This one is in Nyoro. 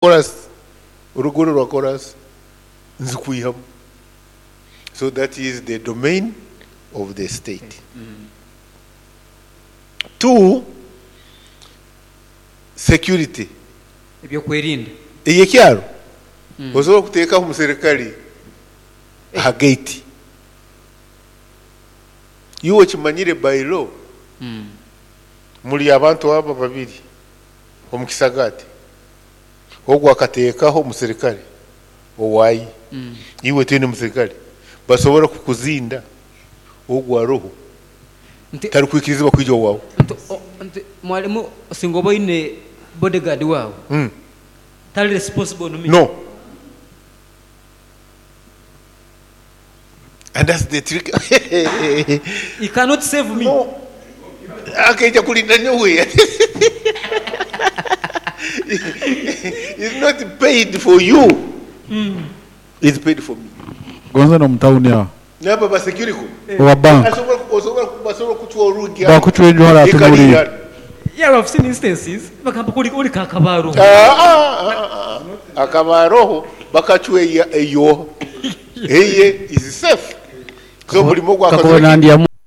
Korasi, oruguudo rwa korasi nzikwihamu. So that is the domain of the state. Two, security. Ebyokwerinda. Eyekyaro osobola kuteekaho omuserikale aha gate. Iwe okimanyire by law muri abantu aba babiri omu kisagaati. Ogu akateekaho omuserikale owaaye, iwe toine muserikale, basobola kukuzinda ogu aroho tarikwikirizibwa kwija owaawe. Nti mwalimu singa oba oine bodyguard waawe, tali responsible on me? No. And that's the trick. He cannot save me. No. Akaija kulinda nyowe. He's not paid for you. He's paid for me. Gonza n'omu tawuni aho. N'abo ba security. Owa bank. Asobola osobola basobola kucwa orugi aho. Bakucwa enju hare atunuliire. Yeah, I've seen instances bagamba kuri ori kakabaroho. Ah, ah, ah, ah. Akabaroho bakacwa eyo. Eye is safe. So buli Kakuba nandyamu.